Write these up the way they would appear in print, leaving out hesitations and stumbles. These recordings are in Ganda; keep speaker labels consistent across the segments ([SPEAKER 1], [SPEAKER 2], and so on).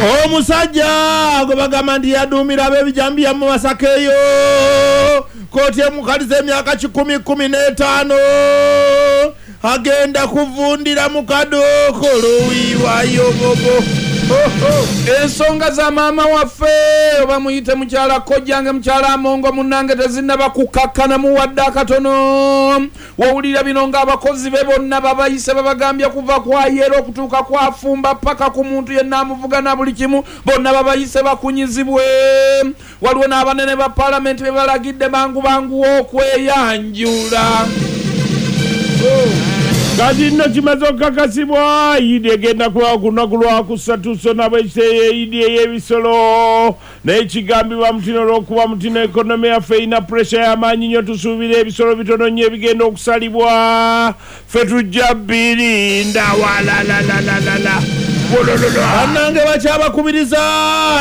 [SPEAKER 1] Omusajja gwe bagamba nti yaduumira ab'ebijambiya mu Masaka eyo, kooti emukaliza emyaka 115, agenda kuvundira mu kadookolo wiiwayobobo.
[SPEAKER 2] Ensonga za maama waffe, oba muyite mukyala kojjange, mukyala Amongo munnange, tezinnaba kukakkanamu wadde akatono. Wowulira bino ng'abakozi be bonna babayise, babagambye kuva kwayera okutuuka kwafumba paka ku muntu yenna amuvuga na buli kimu, bonna babayise bakunyizibwe. Waliwo n'abanene ba palamenti be balagidde mangu bangu okweyanjula.
[SPEAKER 3] Kati nno kimaze okukakasibwa, Idi egenda kubawo ku lunaku lwakusatu, so nabo ekiteeyo Idi ey'ebisolo. Naye kigambibwa mutino olw'okuba mutino economy yaffe erina pressure y'amaanyi nnyo, tusuubira ebisolo bitono nnyo ebigenda okusalibwa. Ffe tujja birinda walalalalala.
[SPEAKER 1] Bannange, bakyabakubiriza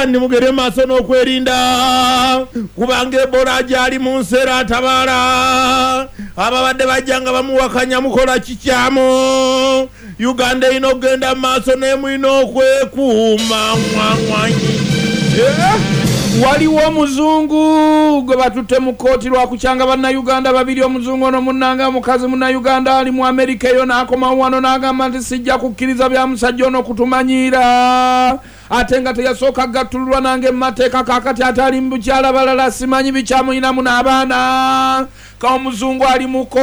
[SPEAKER 1] nimugere maaso n'okwerinda, kubanga Ebola gyali mu nsi era atabaala. Ababadde bajja nga bamuwakanya, mukola kikyamu. Uganda erina okugenda mu maaso, naye mulina okwekuuma ngwangwanyi.
[SPEAKER 2] Waliwo omuzungu gwe batutte mu kkooti lwakukyanga Bannayuganda babiri. Omuzungu ono munnange, omukazi Munnayuganda ali mu Amerika eyo, n'akomawo wano n'agamba nti sijja kukkiriza bya musajja ono kutumanyiira, ate nga teyasooka gattululwa nange mu mateeka. Kaakati ate ali mu bukyala balala, simanyi bikyamuyinamu n'abaana. Ka omuzungu ali mu kkooti.